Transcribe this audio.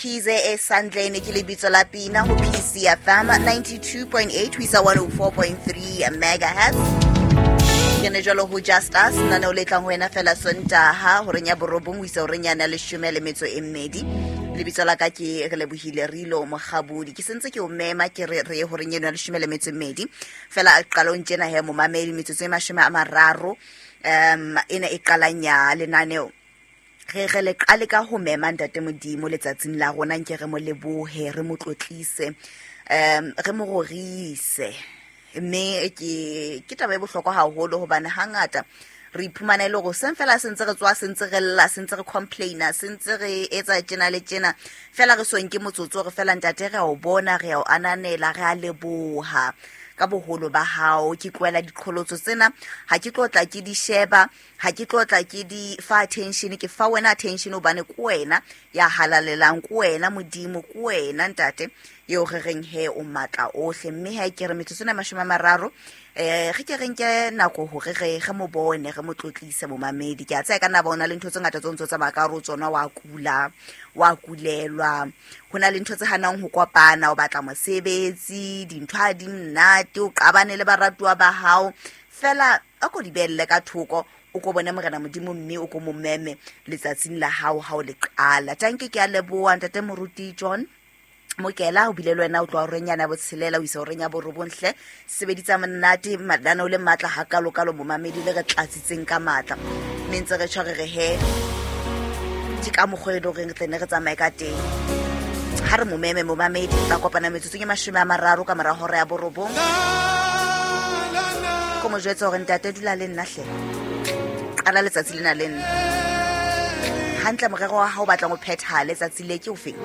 Kize e Sandlane ke lebitso la pina ho PCFM 92.8 ho isa 104.3 megahertz. Ke ne jalo ho Just Us lenaneo le tlang ho wena fela Sontaha horeng ya borobong ho isa horeng yana leshome le metso e mmedi. Lebitso la ka ke re lebohile Rilo Mogabodi. Ke sentse ke o mema ke re re ye horeng eno ya leshome le metso e mmedi. Fela qalong tjena he momamedi metsotso e 30 ena e qalang ya lenaneo re re le qale ka ho mema ntate Modimo letsatsing la rona nke re mo lebohe re mo tlotlise re mo rorise mme ke ke taba e bohlokwa haholo hobane hangata re iphumana e le gore seng fela se ntse re tswa se ntse re lla se ntse re complaina se ntse re etsa tjena le tjena fela re so nke motsotso re fela ntate re a o bona re a o ananela re a leboha ka boholo ba hao ke tlohela diqholotso tsena ha ke tlo tla ke di sheba ha ke tlo tla ke di fa attention ke fa wena attention hobane ke wena ya halalelang ke wena modimo ke wena ntate eo re reng he o matla ohle mme ha ke re metsotso ena 30 re ke re nke nako hore re re mo bone re mo tlotlise momamedi ke a tsaya ka nna ba ona le ntho tse ngata tse ntse tsamaya ka hare tsona wa kula wa kulelwa ho na le ntho tse hanang ho kopana o batla mosebetsi dintho ha di monate o qabane le baratuwa ba hao fela a ko di beelle ka thoko o ko bone morena modimo mme o ko mo meme letsatsing la hao ha o le qala tanke ke a leboa ntate moruti John Mokela o bile le wena o tloa horeng yana ya botshelela o isa horeng ya borobonghle sebeditsa monate mananeo le matla hakalokalo momamedi le re tlatsitseng ka matla mme ntse re tjho re re he ke ka mokgwa e le goreng re tlene re tsamaye ka teng ha re momeme momamedi tla kopana metsotsong e 30 ka mora hora ya borobong ko mo jwetsa gore ntate dula le nna hle qala letsatsi lena le nna hantle morero wa hao o batlang o phethahale tsatsi le ke o feng.